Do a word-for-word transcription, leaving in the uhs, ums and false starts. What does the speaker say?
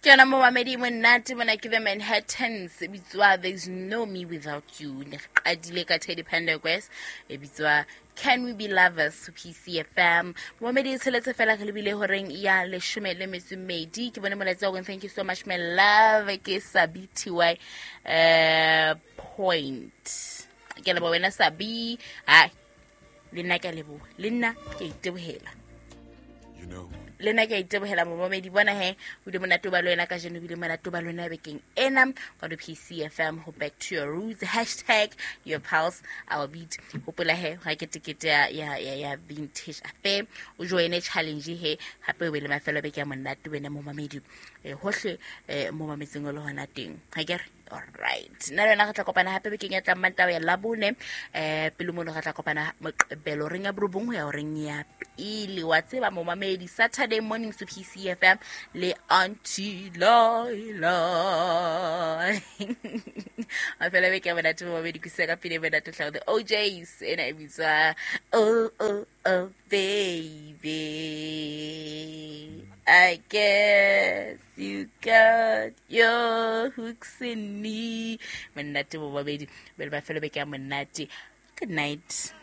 Ke yona momamedi monate mona ke The Manhattans e bitswa There's No Me Without You. Ne re qadile ka Teddy Pendergrass e bitswa Can We Be Lovers, P C F M. Momamedi, e tsheletse fela re lebile horeng ya leshome le metso e mmedi. Ke bone molaetsa wa thank you so much, my love. Ke Sabi Ty uh, point. Ke a leboha wena Sabi. Hai, le nna ke a leboha, le nna ke a itebohela. You know, Le nna ke a itebohela, momamedi. Bona he, o bile monate o ba le wena kajeno, o bile monate o ba le wena bekeng ena ka do P C F M ho Back to Your Roots, hashtag your pulse, our beat. Hopola he, ga ke tekete ya, ya, ya, ya Vintage Affair, o joine challenge he hape o be le mafelo a beke ya monate wena momamedi, eh, hohle eh, mo mametseng o le hona teng, ha ke re? Alright, nna le wena re tla kopana hape bekeng ya tlang, Mantaha ya Labone. um pele mono re tla kopana Moqebelo reng ya borobong ho ya horeng ya pele. Wa tseba momamedi, Saturday morning to P C F M le Auntie Laila. Mafelo a beke ya monate, momamedi. Kusa ka pele monate tlhao The O Js, ena e bitswa Oh Oh Oh Baby, I guess you got your hooks in me. Monate momamedi, bele mafelo beke ya monate. Good night.